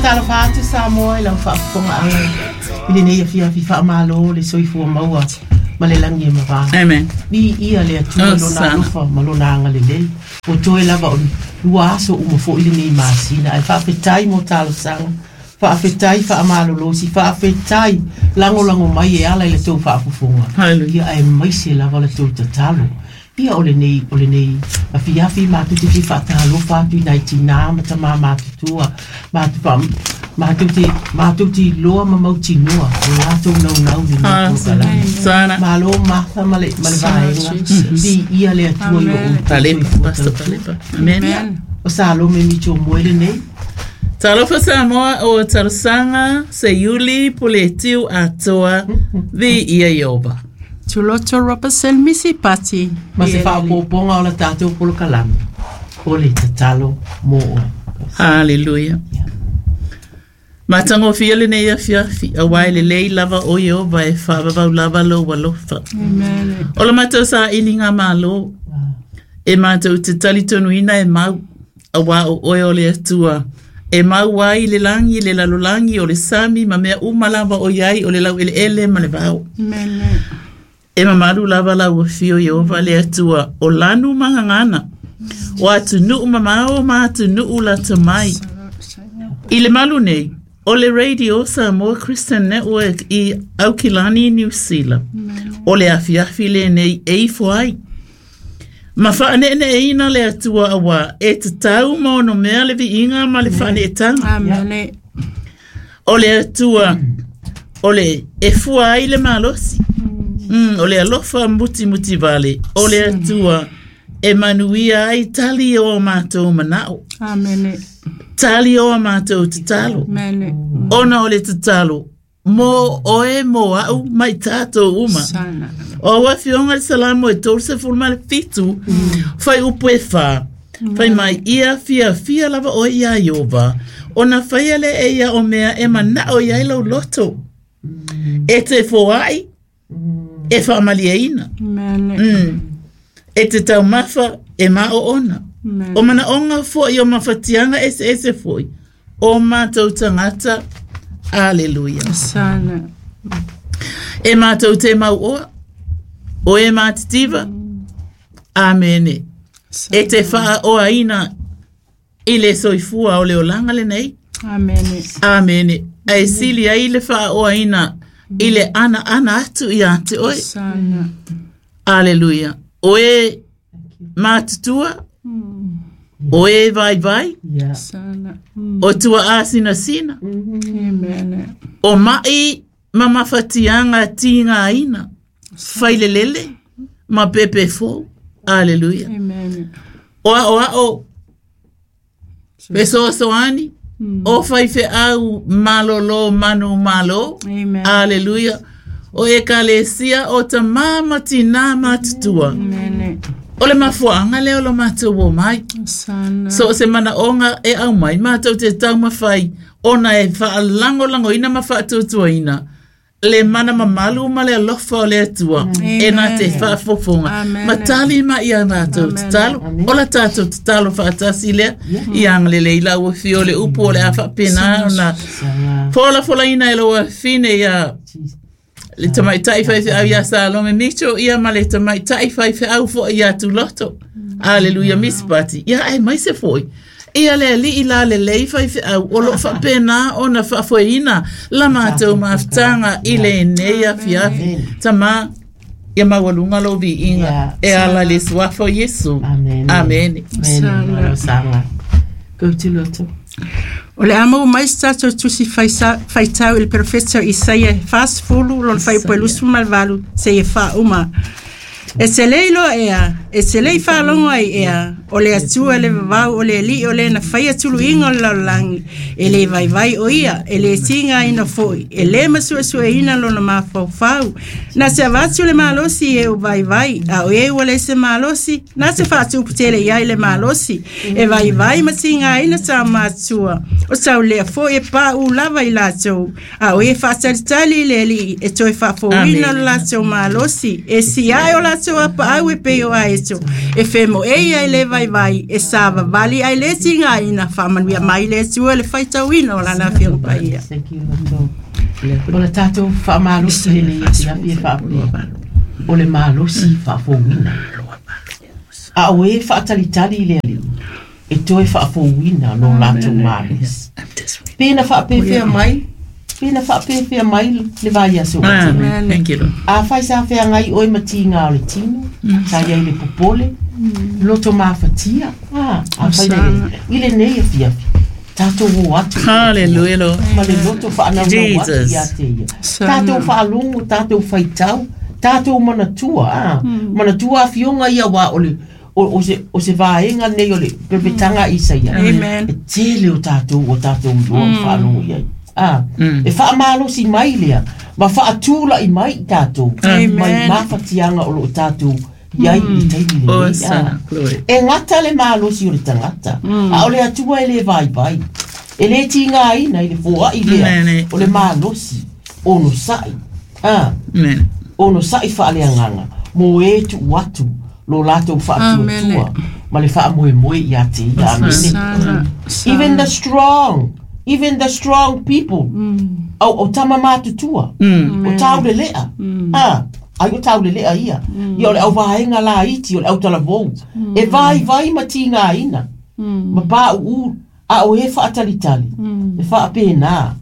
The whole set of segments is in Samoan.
Faatalofa atu Samoa i lau faafofogaaga i lenei afiafi faamalo le soifua maua ma le lagi e mava. Amen. Viia le Atua i Lona alofa ma Lona agalelei. Ua toe lava o lua aso uma foi lenei masina. Ae faafetai mo talosaga, faafetai faamalolosi, faafetai lagolago mai e ala i la tou faafofoga. Hallelujah. Ia aemaise lava la tou tatalo. Ia o lenei, o lenei afiafi matou te fia faatalofa atu i nai tinā ma tamā matutua, matou faa, matou te, matou te iloa ma mautinoa o latou naunau i lenei polokalame. Sana. Malo Martha ma le, ma le vaega. Viia le Atua i lo outou Palepa, soifua Pastor tautua. Palepa. Amen. Ia, o Salome Mitchell Moe lenei. Talofa Samoa o talosaga Seiuli Puletiu Atoa Viia Ieova. Tuloto Robertson Misi Pati. Ma se faaopoopoga o la tatou polokalame, o le tatalo mo oe. Hallelujah. Matagofie lenei afiafi, aua e lelei lava o Ieova e faavavau lava lou alofa. Amen. O la matou sailiga malo, e matou te talitonuina e mau, aua o oe o le Atua, e mau ai le lagi, le lalolagi, o le sami ma mea uma lava o i ai, o le laueleele ma le vao. Amen. E mamalu lava lau afio Ieova le Atua o lanu ma gagana, o atunuu mamao ma atunuu lata mai. I le malu nei, o le Radio Samoa Christian Network i Aukilani, Niu Sila. O le afiafi lenei e ifo ai. Ma faaneeneeina le Atua aua e tatau ma ono mea le viiga ma le faaneetaga. Amen. O le Atua o le e fua ai le malosi. O le alofa mutimutivale. O le Atua e manuia ai tali o a matou manao. Amen. Tali o a matou tatalo. Amen. Ona o le tatalo mo oe mo au ma i tatou uma. Sana. O au afioga le Salamo e 37, fai upu e whā. Fai mai ia fiafia lava oe iā Ieova, ona faia lea e ia o mea e manao i ai lau loto. E te foai, e faamalieina. Amen. E te taumafa, e maoona. Amen. O manaoga foi o mafatiaga eseese foi, o matou tagata. Aleluia. Sana. E matou te mauoa, o e matitiva. Amene. E te faaoaina i le soifua o le olaga lenei. Amen. Amene. Ae sili ai le faaoaina i le anaana atu ia te oe. Sana. Aleluia. O e matutua, o e vaivai, Yeah. Sana. o tua asinasina, Amen. o mai ma mafatiaga tigaina, failelele ma pepefou. Aleluia. Amen. O aoao fesoasoani, o faifeau malolo manu malo. Amen. Aleluia. O ekalesia o tamā ma tinā matutua. Amen. O le mafuaaga lea o lo matou o mai. Sana. So o se manaoga e aumai matou te taumafai ona e faalagolagoina ma faatuatuaina le mana mamalu ma le alofa o le Atua e na te faafofoga Amen. ma tali mai ia latou tatalo. O la tatou tatalo faatasi lea ia agalelei lau afio o le upu o le a faapena ona Sana. folafolaina e lou afine ia Jesus. le tamaitai faifeau ia Salome Mitchell ia ma le tamaitai faifeau foi ia Tuloto. Aleluia, Miss Pati. Ia aemaise foi. Ia le alii la lelei faifeau o loo faapena ona faafoeina la matou mafutaga i lenei afiafi. Tamā, ia maualuga lou viiga Yeah. e ala i le suafa o Iesu. Amen. Amene. Amen. Malo saga. Go to Loto. O le a maua mai se tatou tusi faitau i le perofeta o Isaia e 40 lona fuaiupu e 28 seia faauma. E te le iloa ea, e te le i faalogo ai ea, o le Atua le vavau o le Alii o le na faia tuluiga o le lalolagi, e le vaivai o ia, e le tigaina foi, e le masuesueina lona mafaufau. Na te avatu le malosi i e o vaivai, a o e ua le se malosi, na te faatuputele i ai le malosi, e vaivai ma tigaina tā matua, o taulea foi e pāū lava i latou, a o e faatalitali i le Alii, e toe faafouina Amen. lo latou malosi, e siae o latou apaau e pei o aeto, e femoei ai le vaivai vaivai e savavali ae lē tigaina faamanuia mai le Atua le faitauina o lana afioga paia. Thank you, Lord. O le tātou whaamalosi le nei afiafi e whaapea. O le malosi whaafouina. A o e whaatalitali i le ali. E toe whaafouina no lātou malosi. Pena whaapewhea mai, pena whaapewhea mai le vai aso. Amen. Thank you, Lord. A whai sa whea ngai oe mati ngā o le tino, sa ia i le popole, loto mafatia, a whai le, i le nei afiafi, tātou o atu. Hallelujah, Lord. Ma le loto whaanau nau atu Jesus. ia te ia. Tātou whaalongo, tātou whaitau, tātou manatua, manatua awhionga ia wā o le, o se vaenga nei o le perepetanga isa ia. Amen. E tele o tātou iloa mm. whaalongo ia. E whaamalosi mai lea, ma whaatūla i mai i tātou. Amen. Mai mawhatianga o lo tātou iai i le taimi le Oh, nei. sana, glory. E ngata le malosi o le tangata. A o le atua e le vai vai. E le tinga aina i le fōa i lea. Amen. O le malosi o no sai. Amen. O no sai whaaleanganga. Mo e tu atu lo lātou whaatuatua. Ma le whaamoe moe i a te ia. Amen. Sana, Even the strong, people. O tama mātutua. O taule lea. Ai o taule lea ia. Ia o le au vaenga la iti, o le au talavou. E vai vai ma tinga ina. Ma pā uu, a o e whaatalitali. E whaapēnā.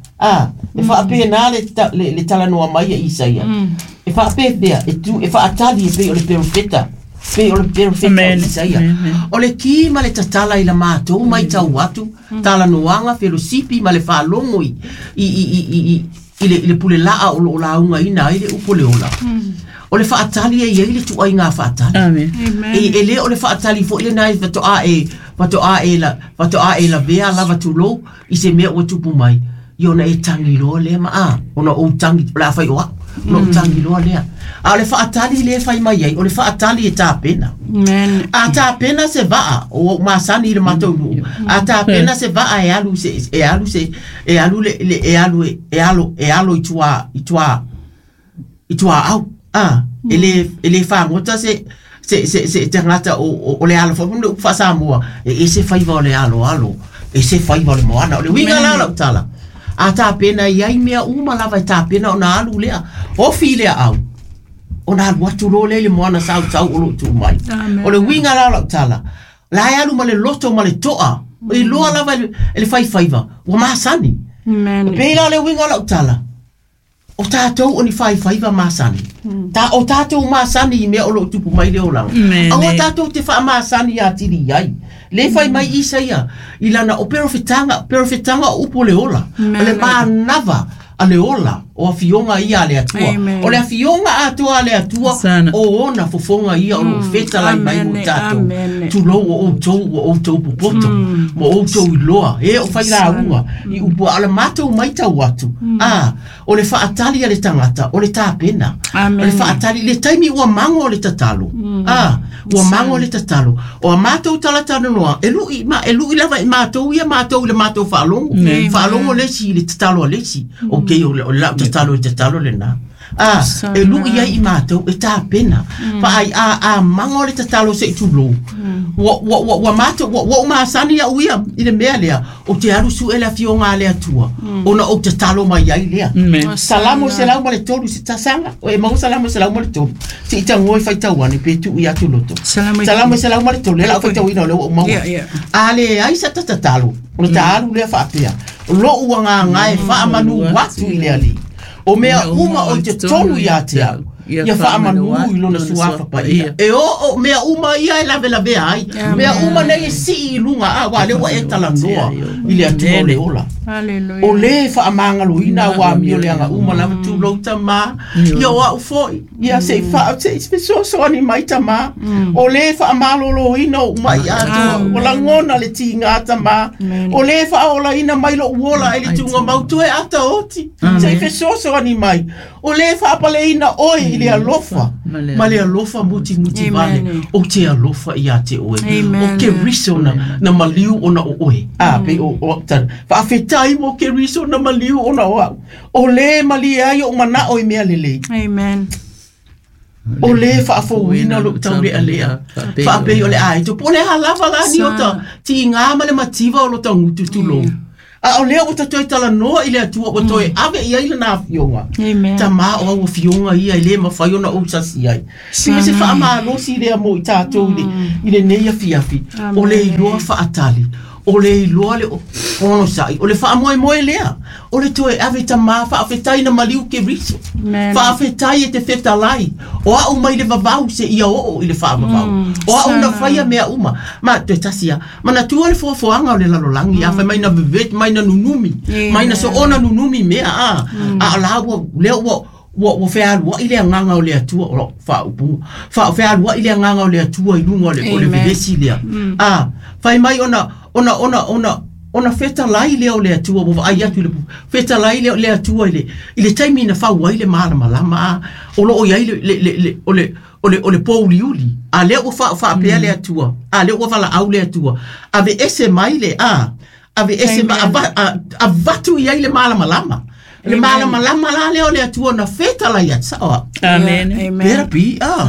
E whaapēnā le talanoa mai a Isa ia. E whaapēpea, e tu, e whaatali e pei o le perofeta. Pei o le perofeta o Isa ia. O le ki ma le tatala i la mātou mai tau atu, talanoanga felosipi ma le whaalongo i le pule laa o lo launga ina i le upo le ola. O le whaatali e iei le tuai ngā whaatali. Amen. Amen. E le o le whaatali fo ile nai whatoa e la vea lava tūlou i se mea ua tupu mai. I ona e tangi loa lea ma a. Ona o tangi, o le a whai o au. Ona o tangi loa lea. A o le whaatali le whai mai ai, o le whaatali e tāpena. Amen. A tāpena se vaa, o masani i le matou nuu. A tāpena se vaa e alu se, e alu se, e alu le, e alu, e alo, e alo i tua au. E le whangota se, se tangata o le alo, wha whasamua, e se whaiva o le alo alo, e se whaiva o le moana, o le winga la lau tala. A tāpena i ai mea uma lava e tāpena o na alu lea, ofi lea au. O na alu atu lo le moana sau sau o lo tū mai. Amen. O le winga la lau tala. La e alu ma le loto ma le toa, i loa lava e le whaiwhaiva, ua masani. Amen. Pēlā le winga lau tala. O tātou o ni whaiwhaiva masani. O tātou masani i mea o lo tupu mai le o langa. Aua tātou te wha masani a tiri ai. Le whai mai isa ia. I lana o perofetanga o upo le ola. O le mānava a le ola. O a fionga ia a le atua. Amen. O le afionga atua a le atua. Sana. O ona fofonga ia o lo wheta lai mai mo tātou. Amen. Tūlou o outou o outou popoto. Mo outou i loa. E o whai la unga. I upo ala mātou mai tau atu. O le whaatali a le tangata. O le tāpena. Amen. O le whaatali. Le taimi ua mango o le tatalo. Ua mango o le tatalo. O a mātou talatano noa. E lui, ma, e lui lava i mātou ia mātou i le mātou whaalongo. Whaalongo lesi i le tatalo a lesi. Ok, o le lau tatalo i tatalo le nā. E lui ai i mātou e tāpena. Fa ai a mango le tatalo se i tūlou. Ua mātou, ua umasani a uia i le mea lea. O te alu su e le afionga a le atua. Ona o tatalo mai ai lea. Amen. Salamo se lau ma le tolu se tasanga. O e mau salamo se lau ma le tolu. Se i tangoe whai tauane pe tu i atu loto. Salamo se lau ma le tolu. Le lau whai tauina o le ua umaua. A le ai sa tatatalo. O le taalu lea whaapea. Lo ua ngā ngae whaamanu watu i le ali. O mea uma o te tonu ia te au. Ia whaamanu i lona suafa pa ia. E o mea uma ia e lawe lawe ai. Mea uma nei e si i lunga a wā le ua e talanoa i le atua o le ola. Hallelujah. O le whaamangalo ina wā mio le anga uma lava tūlou tamā. Ia o au foi. Ia se i wha, se i fesoasoani mai tamā. O le whaamalolo ina o mai atua. O langona le tinga tamā. O le whaola ina mai lo uola e le tunga mautu e ata oti. Se i fesoasoani mai. O le whaapale ina oe i le alofa. Ma le alofa muti muti vale. O te alofa i a te oe. O ke riso na maliu ona o oe. Pe o tana. Whaafetai mo ke riso na maliu ona o au. O le mali ai o mana o i mea lelei. Amen. O le faafouina o lou taulealea faapei o le aito po o le a lava la ni o ta tiga ma le mativa o lo tagutu tulou. A o lea ua ta toe talanoa i le Atua ua toe ave i ai lana afioga. Amen. Tamā o au afioga ia e lē mafai ona ou sasi ai. Pei se faamalosi lea mo i tatou i lenei afiafi. O le iloa faatali. O le iloa le onosai. O le faamoemoe lea. O le toe ave tamā faafetai na maliu Keriso. Amen. Faafetai e te fetalai. O au mai le vavau seia oo i le faavavau. O au na faia mea uma. Ma toe tasi lava. Manatua le foafoaga o le lalolagi. A fai mai na veveti, mai na nunumi. Mai na soona nunumi mea a. A o la ua, lea ua, ua fealuai le agaga o le Atua. O lau faaupuga. Fealuai le agaga o le Atua i luga o le, o le vevesi lea. A, fai mai ona, ona, ona, ona, ona fetalai lea o le Atua, ua vaai atu i le fetalai lea o le Atua i le, i le taimi na fau ai le malamalama a, o loo i ai le, le, le, le, o le, o le, o le pouliuli. A lea ua faapea le Atua, a lea ua valaau le Atua, aveese mai le, a, aveese ma, avatu i ai le malamalama. Le malamalama la lea o le Atua na fetalai atu, sao au? Amen. Amen. Pera pi, a.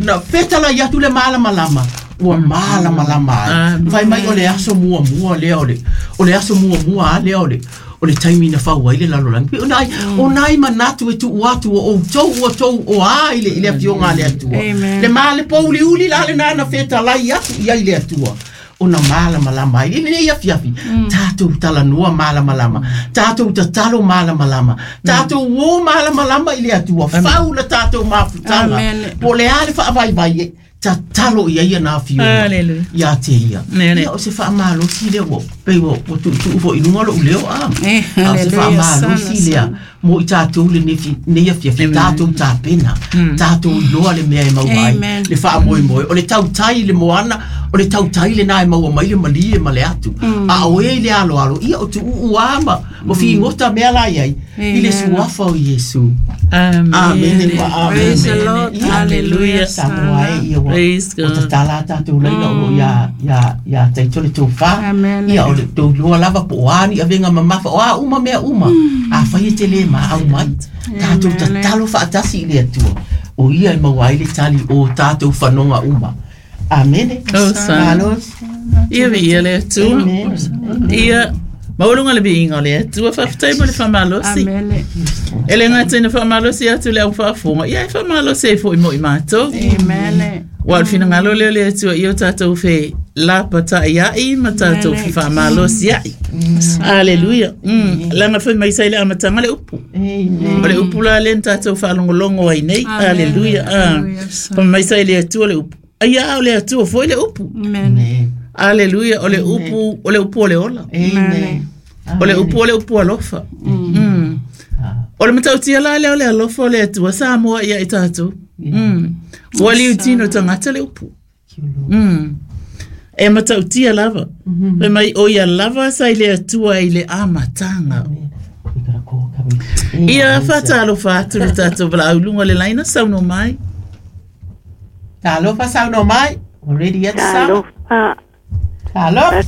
Na fetalai atu le malamalama, ua malamalama ai. Amen. Fai mai o le aso muamua lea o le, o le aso muamua a lea o le, o le taimi na fau ai le lalolagi. Pei o nai, o nai manatu e tuu atu o outou ua tou o a i le, i le afioga a le Atua. Amen. Le ma le pouliuli la lena na fetalai atu i ai le Atua. Ona malamalama ai. I lenei afiafi, tatou talanoa malamalama, tatou tatalo malamalama, tatou o malamalama i le Atua, fau la tatou mafutaga. Amen. Po o le a le faavaivai e, tatalo i ai ana afioga. Hallelujah. Ia te ia. Amen. Ia o se faamalosi lea ua, pei ua, ua tuutuu foi i luga lou leo a. Eh, A o se hallelujah, faamalosi sana, lea mo i tatou lenei afiafi, tatou tapena, tatou iloa le mea e maua ai, Amen. le faamoemoe, o le tautai i le moana, o le tautai lenā e maua mai le malie ma le atu. A o e i le aloalo, ia o tuuu a ma, ma figota mea la i ai, i le Amen. suafa o Iesu. Amen. Amen. Amen. Praise the Lord. Ia. Hallelujah. Samoa e ia ua, Praise ua God. tatala a tatou laina o loo ia, ia, ia taito le tofā. Amen. Ia o le tou lava po o a ni avega mamafa, o a uma mea uma. A fai e te lē maau mai. Tatou tatalo faatasi i le Atua. O ia e maua ai le tali o tatou fanoga uma. Amene. Hosanna. Malo. Ia vi ia le Atua. Amen. Ia maualuga le viiga o le Atua faafetai mo le faamalosi. Amen. E le gata ina faamalosi atu le au faafofoga, ia e faamalosi ai foi mo i matou. Amen. Ua o le finagalo lea o le Atua ia o tatou fe lapatai ai ma tatou Amen. fefaamalosi ai. Aleluia. Laga fai mai sa i le amataga le upu. Amen. O le upu la lea na tatou faalogologo ai nei. Amen. Aleluia. Hallelujah. Fai mai sa i le Atua le upu. Aia a o le Atua foi le upu. Amen. Amen. Aleluia. O le upu, o le upu o le ola. Amen. O le upu o le upu alofa. O le matautia la lea o le alofa o le Atua sa moa ia i tatou. Ua liutino tagata le upu. E matautia lava. Fai mai o ia lava sa i le Atua i le amataga. We gotta call coming. Ia faatalofa atu le tatou valaau i luga o le laina saunoa mai. Talofa saunoa mai. Already at sound. Talofa, Talofa.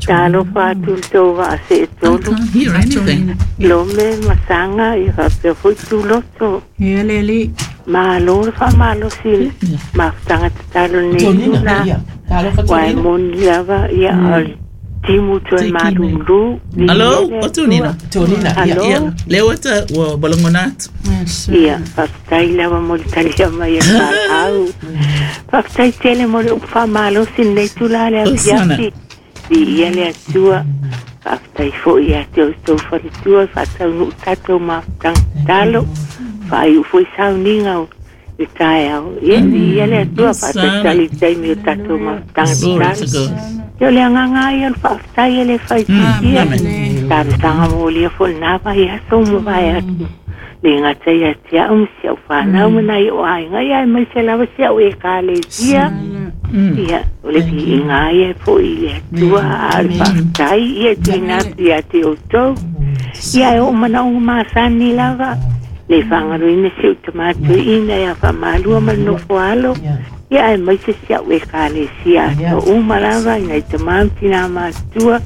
talofa atu le tou vaaseetolu, Can't hear anything. lome masaga ia faapea foi tuloto. Ia le alii. Malo le faamalosi i le mafutaga tatalo lenei Tonina. tula. Ia. Talofa Ua e Tonina. moni lava ia o le timu toe malūlū. Alo, o Tonina. Tonina. Ia. Alo. Ia, lea ua ta ua balagona atu. Yes. Ia, faafetai lava mo le talia mai e faau. Faafetai tele mo le upu faamalosi lenei tula le Osana. afiafi. Viia le Atua. Faafetai foi ia te outou faletua, faataunuu tatou mafutaga tatalo. Faaiu foi sauniga o le taeao. Ia, viia le Atua, Osana. faatalitali i taimi o tatou mafutaga Glory to tatalo. God. Ia o le agaga ai o le faafetai e le faititia. Amen. Talosaga molia foi lena vai aso ma vai atu. Le gata ia te au ma si au whanau ma nai o aiga ia e mai se lava si au e kalesia. Ia, o le viiga ai e foi i le Atua a o le faafetai ia tuuina atu ia te outou. Ia e oo manaoga masani lava. Le faagaloina si ou tamātuiʻina ia faamalua ma le nofo alo. Ia e mai se si au e kalesia ato uma lava i nai tamā ma tinā matua.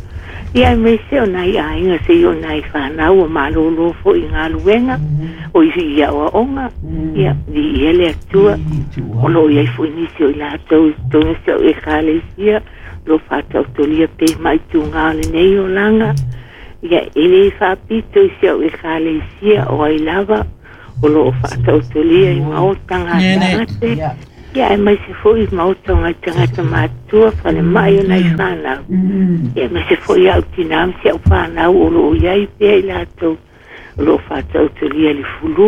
Ia aemaise o nai aiga seia o nai fanau ua malōlō foʻi i galuega o i i aʻoaʻoga. Ia viia le Atua o loo iai foʻi nisi o i latou i totonu o si a'u ekalesia o loo faataotolia pea ma itugā o lenei olaga. Ia e lē faapito i si a'u ekalesia o ai lava o loo faataotolia i maota gasegase. Ia aemaise foʻi i maota o nai tagata matutua falemaʻi o nai fanau. Ia aemaise foʻi a'u tinā ma si a'u fanau o loo iai pea i latou o loo faataotolia i le fulū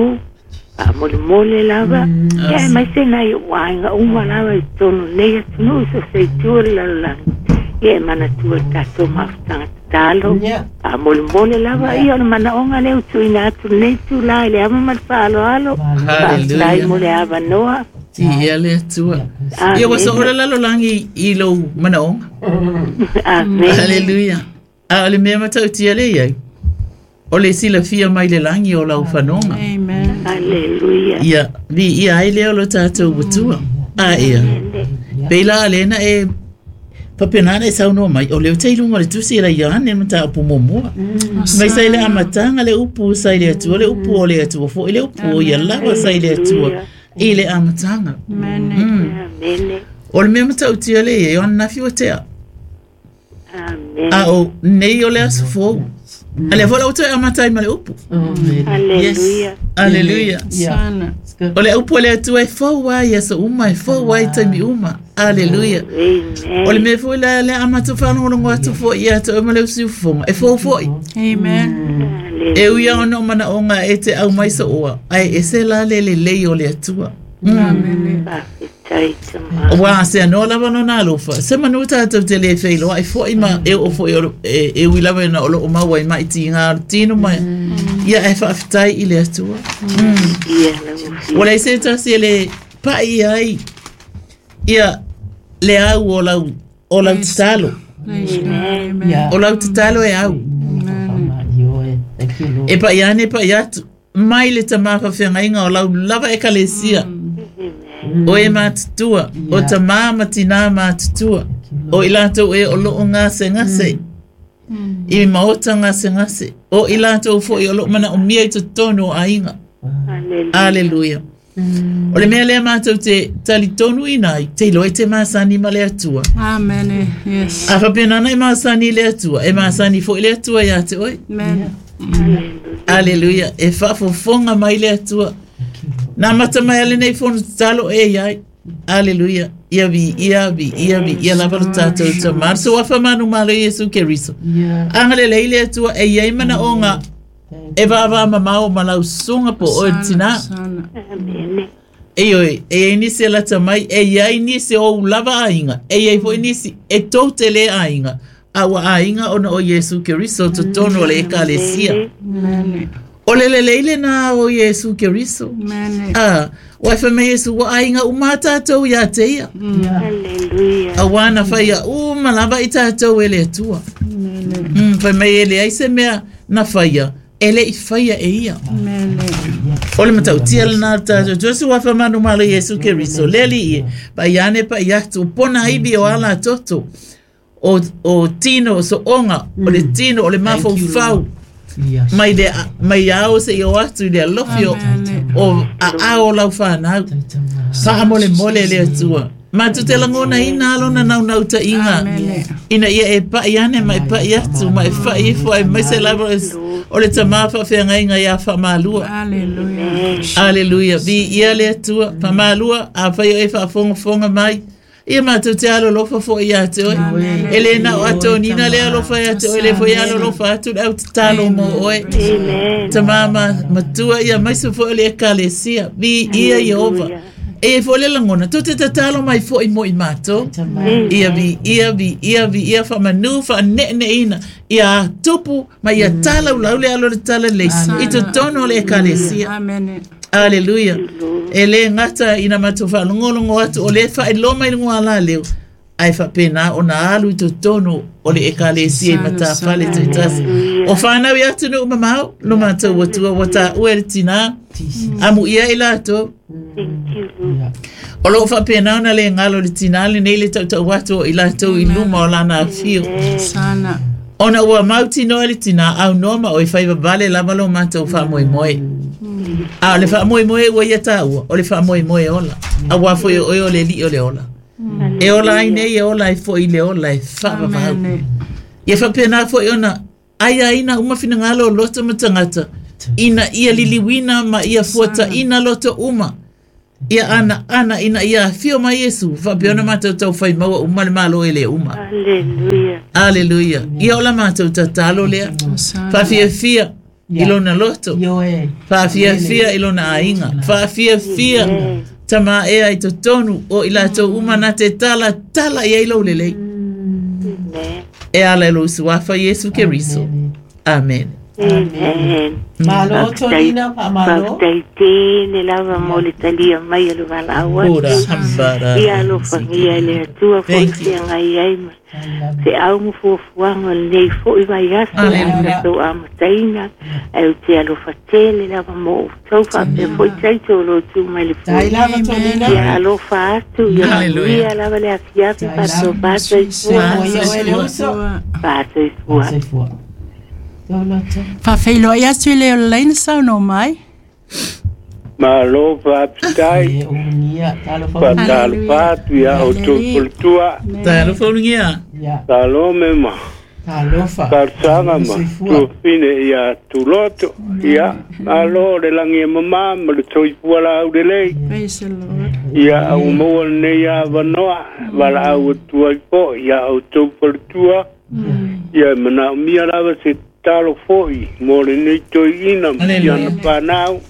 faamolemole lava. Ia aemaise nai oʻu aiga uma lava i totonu o lenei atunuu i so o se itu o le lalolagi. Ia e manatua i le tatou mafutaga tatalo faamolemole lava. Ia o le manaoga lea ua tuuina atu lenei itulā i le ava ma le faaaloalo. Faafetai mo le avanoa. Viia le Atua. Ia ua soo le lalolagi i lou manaoga. Amene. Haleluia. A o le mea matautia lea i ai, o le silafia mai le lagi o lau fanoga. Amen. Haleluia. Ia, viia ai lea o lo tatou Atua. A ia, pei la lea na e faapena na e saunoa mai, o lea ou te i luga o le tusi e la Ioane le mataupu muamua. Mai sa i le amataga le upu sa i le Atua, le upu o le Atua foi, le upu o ia lava sa i le Atua i le amataga. Amen. Amene. O le mea matautia lea i ai, o ananafi ua tea. Amene. A o nei o le aso fou. A lea foi la ua toe amata ai ma le upu. Haleluia. Aleluia. Sana. O le upu a le Atua e fou ai i aso uma, e fou ai i taimi uma. Aleluia. Amen. O le mea foi lea lea a matou faalogologo atu foi ia te oe ma le usiufofoga, e fou foi. Amen. E ui lava ona o manaoga e te aumai sooa, ae ese la le lelei o le Atua. Amen. Faafetai tama. Aua se anoa lava lona alofa, se manu tatou te lē feiloai foi ma e oo foi o e ui lava ina o loo maua ai mai tigā o le tino ma ia ae faafetai i le Atua. Ia lau Ua leai se tasi e lē paʻi ai ia le au o lau o lau tatalo. Praise God. Amen. O lau tatalo e au. Thank you, Lord. E paʻi ane e paʻi atu mai le tamā faafeagaiga o lau lava ekalesia. O e matutua, o tamā ma tinā matutua, o i latou e o loo gasegase, i maota gasegase, o i latou foi o loo manaomia i totonu o aiga. Haleluia. Aleluia. O le mea lea matou te talitonu ina ai, te iloa i te masani ma le Atua. Amen. Yes. A faapena e masani i le Atua, e masani foi le Atua ia te oe. Amen. Aleluia. E faafofoga mai le Atua. Na mata mai ale nei fono tatalo e iai. Aleluia. Ia viia, viia, viia lava lo tatou Tamā. So afa manu malo Iesu Keriso. Yeah. Agalelei le Atua e iai manaoga e vaavaa mamao ma lau susuga po o oe le tinā. Sana. Amene. E ioe, e iai nisi e lata mai, e iai nisi o ou lava aiga, e iai foi nisi e tou te lē aiga, a ua aiga ona o Iesu Keriso totonu o le ekalesia. Amen. O le lelei lenā o Iesu Keriso. Amen. A, ua e fai mai Iesu, ua aiga uma a tatou iā te ia. Haleluia. Auā na faia uma lava i tatou e le Atua. Fai mai e leai se mea na faia, e leʻi faia e ia. Amen. O le matautia lenā le tatou Atua se ua faamanu malo Iesu Keriso. Le alii e, paʻi ane paʻi atu, pona ivi o ala toto, o tino o sooga, o le tino o le mafaufau, Yes. mai le mai ao seia o atu i le alofi o o aao o lau fanau. Faamolemole le Atua. Matou te lagonaina lona naunautaiga Amen. ina ia e paʻi ane ma e paʻi atu ma e faʻi ifo aemaise lava o le tamā faafeagaiga iā faamalua. Hallelujah. Aleluia. Viia le Atua. Faamalua afai o e faafogafoga mai. Ia matou te alolofa foi iā te oe. E lē na o atonina le alofa iā te oe, le foi alolofa atu le au tatalo mo oe. Amen. Tamā ma matua ia aemaise foi o le ekalesia. Viia Ieova. E iai foi le lagona, tou te tatalo mai foi mo i matou. Ia viia, viia, viia, faamanū, faaneeneeina, ia tupu ma ia talaulau le alo o le talalelei i totonu o le ekalesia. Amen. Aleluia. E lē gata ina matou faalogologo atu o lē faailoa mai luga ala leo, ae faapena ona alu i totonu o le ekalesia i matafale taitasi. O fanau i atunuu mamao, lo matou Atua ua taua e le tinā, amuia i latou. Thank you, Lord. O loo faapena ona lē galo le tinā lenei le tautau atu o i latou i luma o lana afio. Sana. Ona ua mautinoa e le tinā aunoa ma oe fai vavale lava lo matou faamoemoe. A o le faamoemoe ua ia taua, o le faamoemoe ola. Auā foi o oe o le Alii o le ola. E ola ai nei e ola ai foi i le ola e faavavau. Ia faapena foi ona aiaina uma finagalo o loto ma tagata, ina ia liliuina ma ia fuataina loto uma. Ia ana ana ina ia afio mai Iesu, faapea ona matou taufai maua uma le Malo e le uma. Aleluia. Aleluia. Ia o la matou tatalo lea. Faafiafia i lona loto. Faafiafia i lona aiga. Faafiafia tama ea i totonu o i latou uma na te tala tala i ai lou lelei. E ala i lou suafa Iesu Keriso. Amen. Amen. Malo, Tolina, faamalo. Faafetai tele lava mo le talia mai o le valaau atu. Ora hambara. Ia alofagia e le Atua foi Thank you. feagai ai ma feau ma fuafuaga o lenei fo'i vaiaso Hallelujah. tatou amataina ae ou te alofa tele lava mo outou faapea fo'i taito o lo tu mai le Tai foe. lava, Tolina. Ia alofa atu, ia Hallelujah. manuia lava le afiafi faatoa Soifua ia oe le uso. faatoifua. Soifua. Toloto. Faafeiloai atu i le olaina saunoa mai. Malo faafetai E ulugia. Talofa ulugia. faatalofa atu ia outou faletua Talofa ulugia. Ia. salome ma Talofa. talosaga ma Soifua. tuafine ia tuloto ia malo le lagi e mamā ma le soifua laulelei Praise the Lord. ia au maua lenei avanoa valaau atu ai fo'i ia outou faletua ia e manaomia lava se tatalo fo'i mo lenei toeaina ma Hallelujah. siana fanau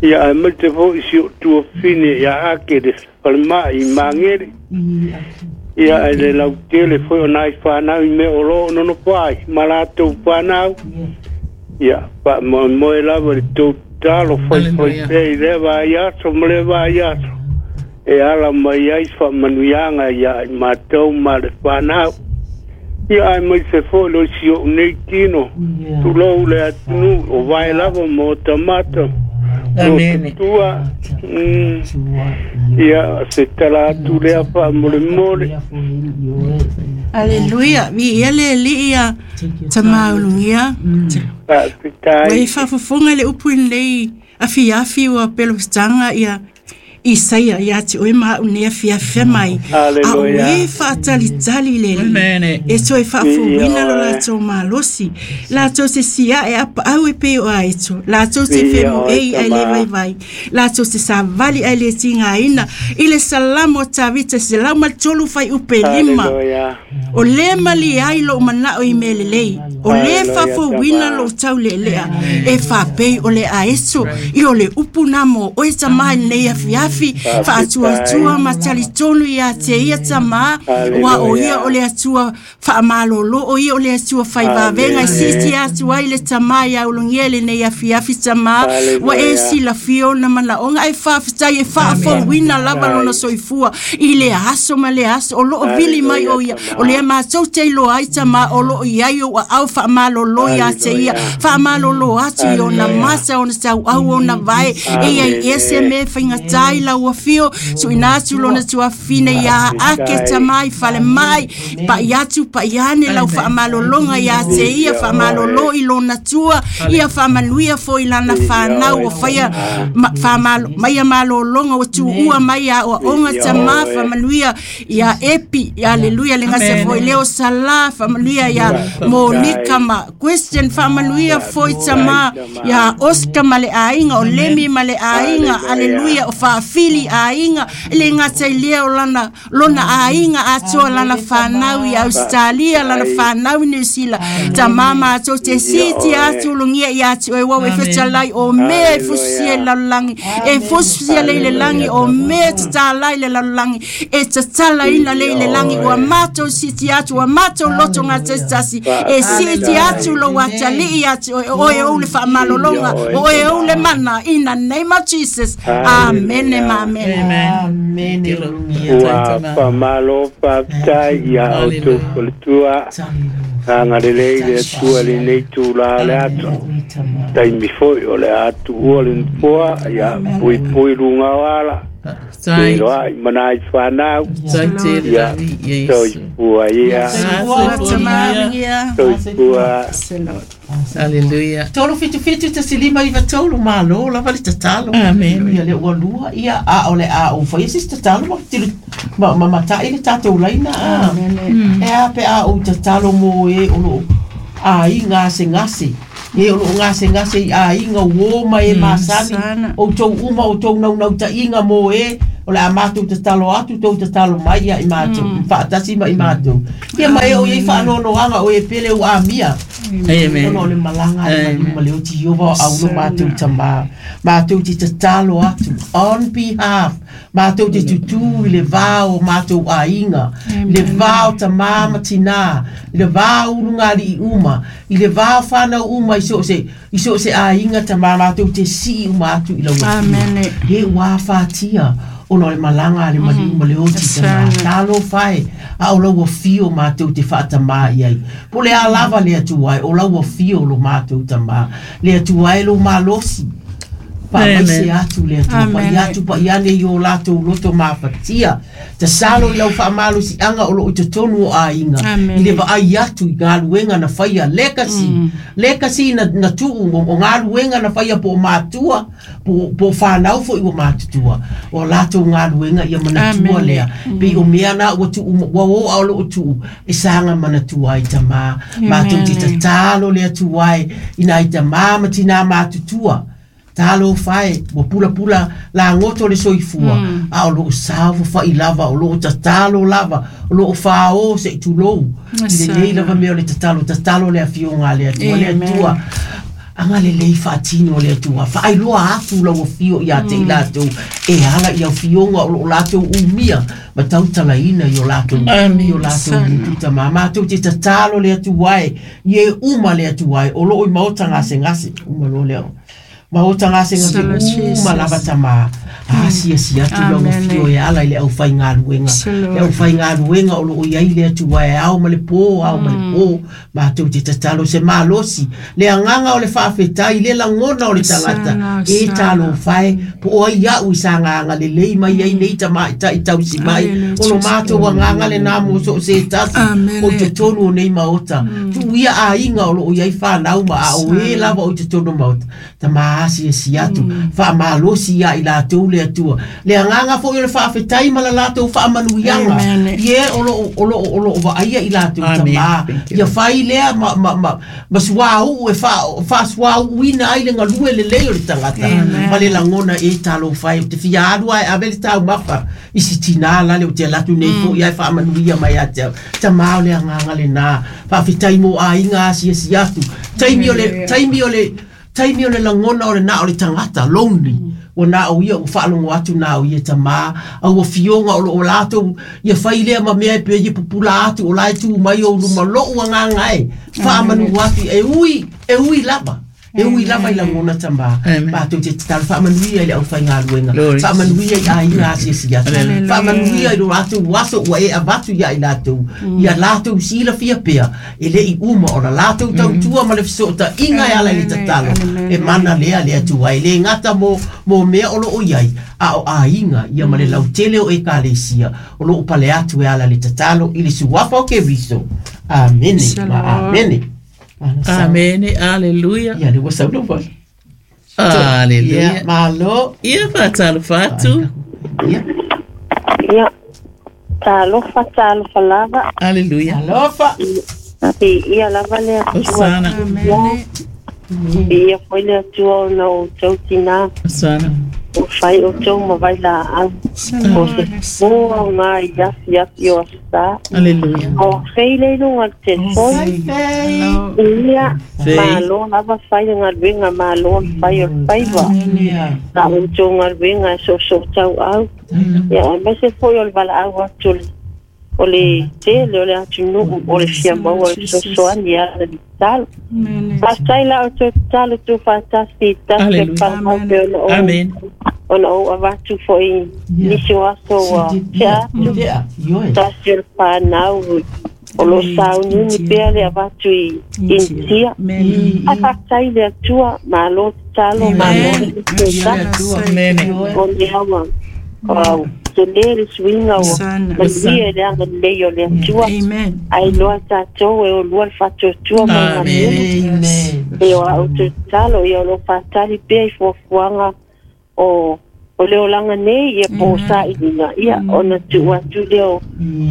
ia aemaise fo'i si o'u tuafine ia ake le falema'i i magele ia ae le lautele foi o nai fanau i mea o lo o nonofo ai ma latou fanau ia faamoemoe lava le tou tatalo faifai Hallelujah. pea i lea vaiaso ma lea vaiaso e ala mai ai faamanuiaga ia i matou ma le fanau ia aemaise foi lo si o'u nei tino tulou le atunuu o vae lava ma o tamata Amene. tua ia se tala atu lea faamolemole. Aleluia. Vi ia le alii ia tama ulugia. Ua e Faafetai. faafofoga i le upu i lenei afiafi ua pelofitaga ia Isaia ia te oe ma au nei afiafi mai. A o Aleluia. e faatalitali le alii. Amene. E toe faafouina lo Ia oe. latou malosi. Latou se siae apaau e pei o aeto. Latou te Ia femoei oe, ai le tama. vaivai. Latou te savali ai le tigaina. I le salamo o Tavita 135. Aleluia. O le mali ai lou manao i mea lelei. O le Hallelujah, faafouina tama. lou taulelea. E faapei o le aeso i o le upu nā mo oe tamā i lenei afiafi. Faatuatua ma talitonu ia te ia tamā. Ua o ia o le Atua faamalolo, o ia o le Atua faivavega. E siiti atu ai le tamā ia ulugia i lenei afiafi tamā. Ua e Hallelujah. silafia ona manaoga ae faafetai e faafouina lava lona soifua i le aso ma le aso o loo vili mai o ia o lea matou te iloa ai tamā o loo i ai ou aao faamalolo ia te ia faamalolo atu i ona mata ona tauau ona vae e iai ese me faigatā i lau afio suʻina atu lona tuafine ia ake tamā i falemai paʻi atu paʻi ane lau faamalologa ia te ia faamalolo i lona tua ia faamanuia foi lana fanau o faia mai a malologa ua tuua mai a oaoga tamā faamanuia ia Epi aleluia le gase foi leo Sala faamanuia ia Monika ma Question faamanuia foi tamā ia Oscar ma le aiga o Lemi ma le aiga aleluia o faafili aiga e le gata i lea o lana lona aiga atoa lana fanau i Australia lana fanau i New Zealand tamā matou te siti atu ulugia ia te oe uau e fetalai o mea e fusia i le lalolagi e fusia lei le lagi o mea e tatalai le lalolagi e tatalaina lei le lagi ua matou siti atu ua matou loto gatasitasi e siti atu lou atalii ia te oe o oe ou le faamalologa o oe ou le mana in the name of Jesus. Amene ma amene. Amene ulugia. Ua faamalo faafetai ia outou faletua agalelei le Atua lenei tulā o le aso taimi foi o le a tuua le nofoa ia puipui luga o ala. Tai. Iloa i manai whanau. Tai te Ia. lavi Yesu. Soifua ia. Tamavia. Soifua. Hallelujah. 377 159 malo lava le tatalo. Amen. Ia le ua lua ia a o le a o fai se tatalo ma tilo ma ma matai le tatou laina a. E a pe a o tatalo mo e o lo a i ngā se ngase. E o lo ngā se ngase i a i ngā uo mai e masani. Sana. O tau uma o tau nau nau ta inga mo e o le a mātou tatalo atu tou tatalo mai ia i mātou. Whaatasi ma i mātou. Ia mai o iei whaanonoanga o e pele o a mia. Amen. Ona o le malanga ai Amen. ma le o ti Iova o aulo mātou tamā. Mātou te tatalo atu on behalf. Mātou te tutu i le vā o mātou aiga. I le vā o tamā ma tinā. I le vā o urungali i uma. I le vā o whānau uma i so se, i so se aiga tamā mātou te sii uma atu i lau Amen. He wā whātia ona o le malanga a le maliu ma le oti tamā. Talo whai, a o lau fio mātou te whaatamā i ai. Po le a lava le atu ai, o lau fio lo mātou tamā. Le atu ai lo malosi. Pa mai se atu le atu, pa i atu pa i ane i o lātou loto māwhatia. Ta salo i lau whaamalosi anga o lo i totonu o āinga. Amen. I le vaai atu i ngā luenga na whaia legacy. Legacy na tuu o ngā luenga na whaia po mātua, po whānau fo i o mātutua. O lātou ngā luenga ia manatua Amen. lea. Pe o mea nā ua tuu, ua o au lo o tuu, e sanga manatua i tamā. Mātou te tatalo le atu ai, ina i tamā ma tina mātutua. Talo whai, wa pula pula la ngoto le soifua. A o loo sawa whai lava, o loo tatalo lava, o loo whao se i tulou. I le nei lava mea o le tatalo, tatalo le afionga le atua, le Amen. atua. Anga le lei whaatino le atua, whaailoa atu lau afio i a te i lātou, e hala i au fionga o loo lātou umia, ma tautala ina i o lātou, i o lātou mututa mā. Mātou te tatalo le atua e, i e uma le atua e, o loo i maota ngase ngase, uma lo leo. Maota ngase Sala ngase, uma Jesus. lava tamā. A sia sia atu lau Amen. afio e ala i le au whai ngā luenga. Sala. Le au whai ngā luenga o loo iai le atua e ao ma le pō, ao ma le pō. Mātou te tatalo se malosi. Le anganga o le whaafetai, le langona o le tangata. Sana, E sana. talo whai, po o ai au i sa nganga le lei mai ai nei tama i tai tausi mai. Hallelujah, O lo Jesus. mātou a nganga le nā mo so se tasi. Amen. O te tonu o nei maota. Tu ia a inga o loo iai whanau ma a o e lava o te tonu maota. Tama asi e si atu. Wha malosi ia i lātou le atua. Le anganga fo i o le whaafetai ma la lātou whaamanuianga. Amen. Ie o lo o lo o lo vaaia i lātou Amen. tamā. Thank you. Ia whai lea ma ma ma ma suau e fa suau ina ai le ngalue le lei o le tangata. Amen. Ma le langona e talo whai te fia alu ai ave le tau mafa. I si tina la le o te latu nei fo ia e whaamanuia mai a te au. Tamā o le anganga le nā. Whaafetai mo a inga asi e si atu. Taimi o le taimi o le taimi o le langona o le nā o le tangata lonely. O nā o ia o whaalongo atu nā o ia tamā. Au o fionga o lo o lātou ia whai lea ma mea e pe ia pupula atu o lai tū mai o luma lou a ngā e. Whaamanu atu e ui lava. E ui lava i langona tamā. Amen. Mātou te tatalo whaamanuia i le au whai ngā luenga. Glory. Whaamanuia i a inga asi si atu. Hallelujah. Whaamanuia i lo lātou aso ua e avatu ia i lātou. Ia lātou sila fia pea. E le i uma o la lātou tautua ma le fisoota inga e ala i le tatalo. Amen. E mana lea le atua e le ngata mo mea o lo o iai. A o a inga ia ma le lautele o e kalesia. O lo o pale atu e ala le tatalo i le suafa o ke viso. Amene. Ma amene. Amen. Hallelujah. Ia le ua saulo wale. Hallelujah. Ia, malo. Ia whaatalo whaatu. Ia. Ia, talofa, talofa lava. Hallelujah. Alofa. I ia lava le atua. Osana. Amen. I ia foi le atua o na o tau tina. Osana. O whai o tau mawai la au. O se moa o ngā i afi afi o asa. Hallelujah. O whei le lunga le telefoni. Fei. Ia, Fei. malo lava whai o ngā luenga, malo whai o whaiwa. Ia. La o tau ngā luenga e so so tau au. Ia, e mai se foi o le wala au atu le o le tele, o le atu nuu, o le fia maua, o le sosoani ala le talo. Amen. Pasai la o te talo tu whātasi, tasi te Hallelujah. whanau pe ona o, Amen. ona o avatu fo i nisi o aso wa te atu, Ia. Ioe. tasi o le whanau, o lo saununi pea le avatu i intia. Amen. A whātai le atua, malo te talo, malo te talo, Amen. o le awa. Au tele le suiga ua manuia i le agalelei o le Atua. Ae iloa tatou e olua le faatuatua ma le galuega. E o a outou tatalo, ia o lo o faatali pea i fuafuaga o le olaga nei, ia po o sailiga, ia ona tuu atu lea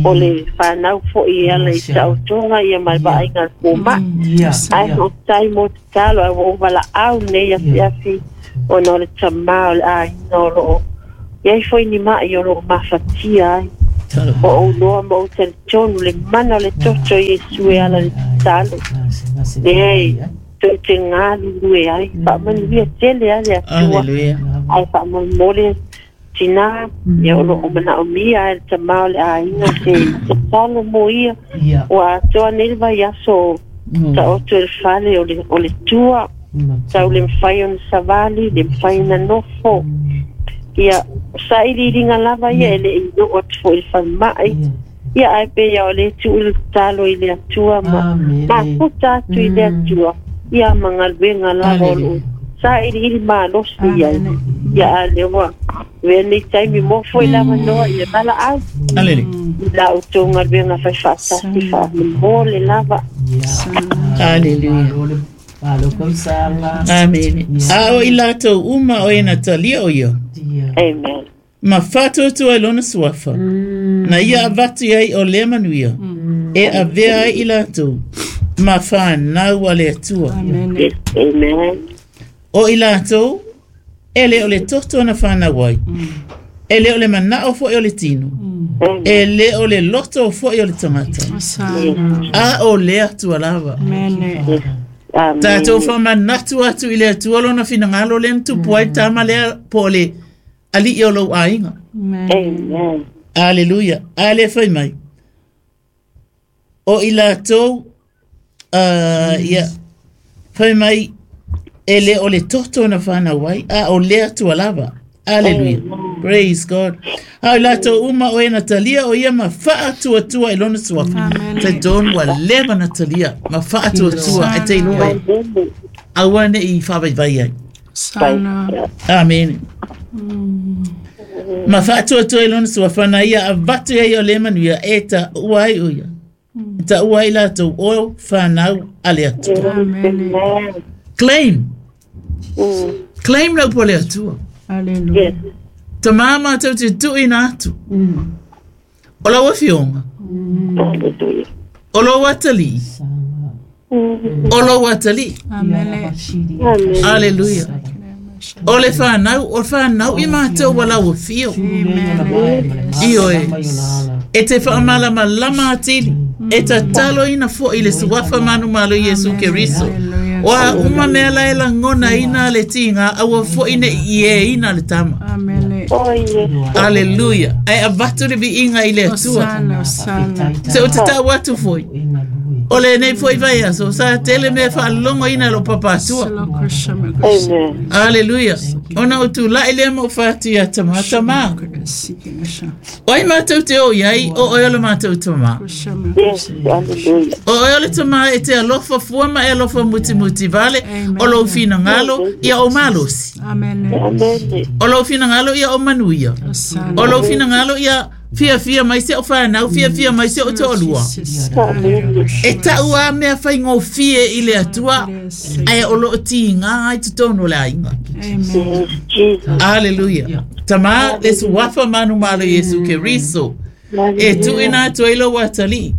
o le fanau foi e ala i taotoga ia ma le vaaiga a le fomai. Ae faafetai mo tatalo, ae ua ou valaau nei afiafi ona o le tamā o le aiga o loo iai foi ni mai o loo mafatia ai. O ou loa ma ou talitonu le mana o le toto o Iesu e ala i le tatalo. Leai, tou te galulue ai, faamanuia tele a le Atua. Ae faamolemole tinā, ia o loo manaomia ai le tamā o le aiga se tatalo mo ia. Ua atoa nei le vaiaso o taoto i le fale o le tua, tau le mafai ona savali, le mafai ona nofo. Ia, sailiiliga lava ia e le i oo atu foi i le falemai. Ia, ae pei o le tuu le tatalo i le Atua ma mafuta atu i le Atua, ia ma galuega lava o loo sailiili malosi ai. Ia, a lea ua avea nei taimi mo foi lava noa ia valaau. I la outou galuega faifaatasi faamolemole lava. Hallelujah. Amen. A o i latou uma o e na talia o ia. Amen. Ma whātuatua i lona suafa. Na ia avatu ai o lea manuia. E avea ai i latou. Ma whānau a le Atua. Yes. Amen. O i latou, e le o le toto na whānau ai. E le o le manao foi o le tino. E le o le loto foi o le tangata. A o le Atua lava. Amen. Tātou whamanatu atu i le Atua lona finangalo le tupu ai tama lea po le ali i o lou aiga. Amen. Hallelujah. A le whai mai. O i latou, ia, whai mai, e le o le toto na whanau ai, a o le Atua lava. Hallelujah. Praise God. A i latou uma o e Natalia o ia ma whaatuatua i lona suafa. Te don wa leva Natalia ma whaatuatua e te iloa e. Aua ne i whavaivai ai. Amen. Ma whaatuatua i lona suafa na ia avatu ai o le manuia e ta ua ai o ia. E ta ua ai latou o whanau a le Atua. Amen. Claim. Claim lau po le Atua. Hallelujah. Yes. Ta māma tau te tui nā atu. O lau awhionga. Hallelujah. O lau atali. O lau atali. Amen. Amen. Hallelujah. O le whanau, o whanau i mātou wa lau awhio. Ioe. E te whaamalama lama atili. E tatalo ina fo i le suafa manu malo Yesu Keriso. O a uma mea lae langona ina le tinga, aua fo ine i e ina le tama. Amen. Oh, yes. Hallelujah. Ai avatu le viinga i le Atua. Osana, osana. Se o te tau atu foi. O le nei foi vai aso, sa tele mea whaalongo ina lo papa atua. Amen. Hallelujah. Ona o tū lai lea mo whātu ia tama tama. Oi mātou te o iai, o oi ole mātou tama. Yes. Hallelujah. O oi ole tama e te alofa fuama e alofa muti muti vale, o lou whina ngalo ia o malosi. Amen. Amen. O lou whina ngalo ia o manuia. O lou whina ngalo ia fia fia mai se o whanau, fia fia mai se o te olua. Amen. E tau a mea whai ngō fie i le Atua, ai o loo ti ngā ai te tono le ainga. Yes, Jesus. Hallelujah. Tama le suafa manu malo Yesu Keriso. E tuina atu ai lo watali.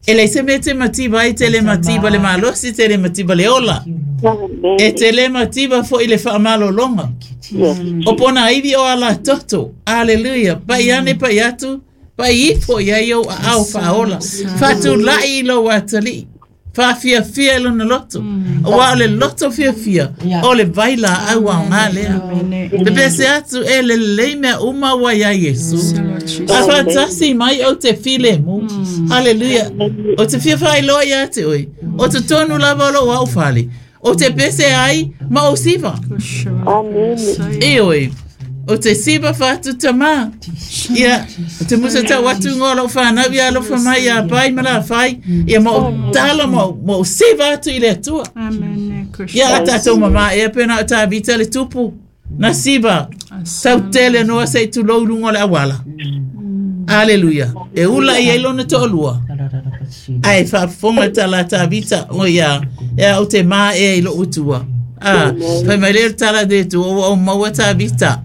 E le se me te mativa ai te le mativa le malosi te le mativa le ola. Amen. E te le mativa fo i le whaamalolonga. Yes. O pona iwi o ala toto. Hallelujah. Pai ane pai atu. Pai ifo ia i au a au whaola. Whatu lai i lo watali. Wha fia fia lona loto. O wa o le loto fia fia. O le vaila au au ngā lea. Te pese atu e le lei mea uma wa ia Yesu. A whatasi mai o te file mu. Hallelujah. O te fia whai loa ia te oi. O te tonu lava o lo wau whale. O te pese ai ma o siva. Amen. E oi. O te siva whatu tama. Ia, o te musa tau atu ngō lau whanau ia alofa mai ia pai ma la whai. Ia ma o tala ma o siva atu i le atua. Amen. Ia a tātou mama e pena o tā vita le tupu. Na siva. Sautele noa se tulou i luga o le auala. Aleluia. E ula i ai lona toalua. Ae faafofoga le tala a Tavita, o ia, e au te maea i lou Atua. Fai mai lea o le tala a le Atua, ua ou maua Tavita.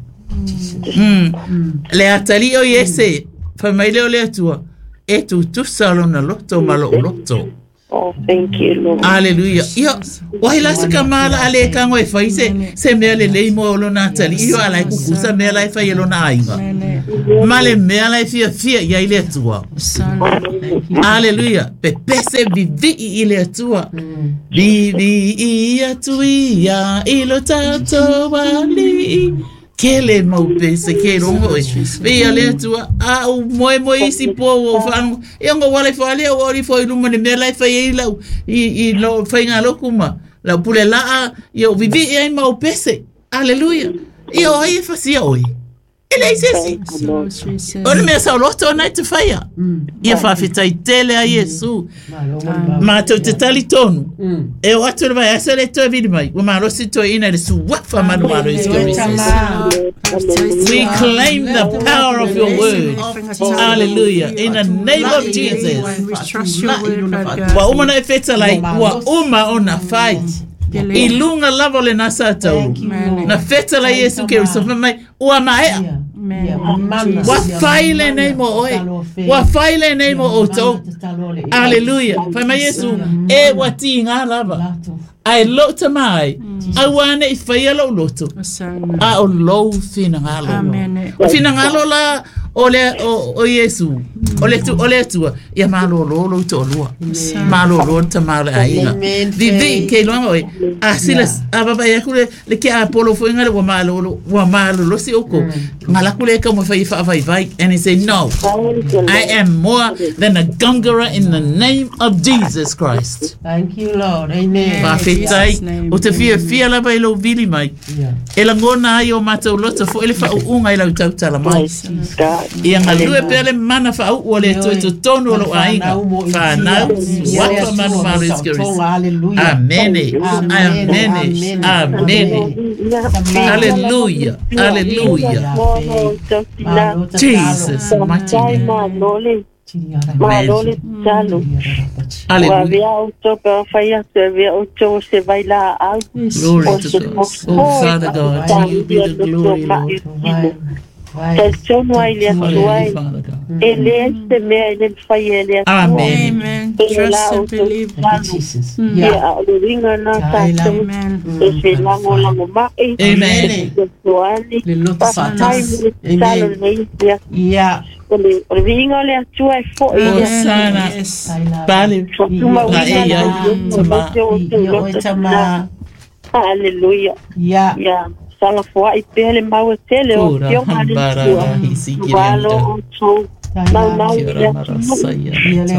Le atalii o Iese, fai mai lea o le Atua, e tutusa lona loto ma lou loto. Oh, thank you, Lord. Aleluia. Ia, wahi la se kamala a le kango e fai se mea lelei mo lona atalii o ala e kukusa mea la e fai e lona aiga. Ma le mea la e fiafia ia i le Atua. Aleluia. Pepese vivii i le Atua. Vivii atu ia i lo tatou alii. Kele mau pese ke rongo e. Via le Atua a u moe moe isi po o whango. Ia ngo wale whale o ori fo i luma ni mea lai whai ei lau i lo whainga loku ma. Lau pule laa ia vivi ai mau pese. Aleluia. Ia o ai e whasia oi. E lei sesi. O le mea sauloto o nai te whaia. Ia whawhitai tele a Iesu. Mātou te tali tonu. E o atu le vai asa le toe vili mai. Ua malosi toe ina le suafa manu malo i. We claim the power of your word. Hallelujah. In the name of Jesus. Ua uma na e whetalai. Ua uma o na whai. I lunga lava o le nasa tauru. Na whetala Iesu Keriso mai. Ua maea. Ua whai le nei mo oe. Ua whai le nei mo outou. Hallelujah. Whai mai Iesu, e ua ti ngā lava. Ai lo ta mai. Au ane i whaia lo loto. A o lou whina ngalo. O whina ngalo la o le o Iesu. O le tu o le atua. Ia malo lo lo to lua. Malo lo ta malo aiga. Vivi ke loanga oi. A sila a baba ia kule le ke a polo fo inga ua malo lo ua malo lo si oko. Ngala kule ka mo fai fa vai vai and he say no. I am more than a conqueror in the name of Jesus Christ. Thank you, Lord. Amen. Whawhetai, o te fia fia lava i lau vili mai. E langona ai o mātou loto fo ele whaunga i lau tautala mai. Ia ngalue pea le mana whaau o le toe totonu o lau aiga. Whanau, wapa manu malo i skirisi. Amene, amene, amene. Hallelujah, hallelujah. Jesus, mighty name. Malo le talo. Hallelujah. Glory to God. Oh, Father God, to you be the glory, Lord. Amen. Amen. Trust and believe. Jesus. Yeah. Amen. Amen. Yeah. Osana. Pale. Hallelujah. Yeah. Yeah. Sala foa i pele mau e tele o tio haletua. Walo o tau. Mau mau ia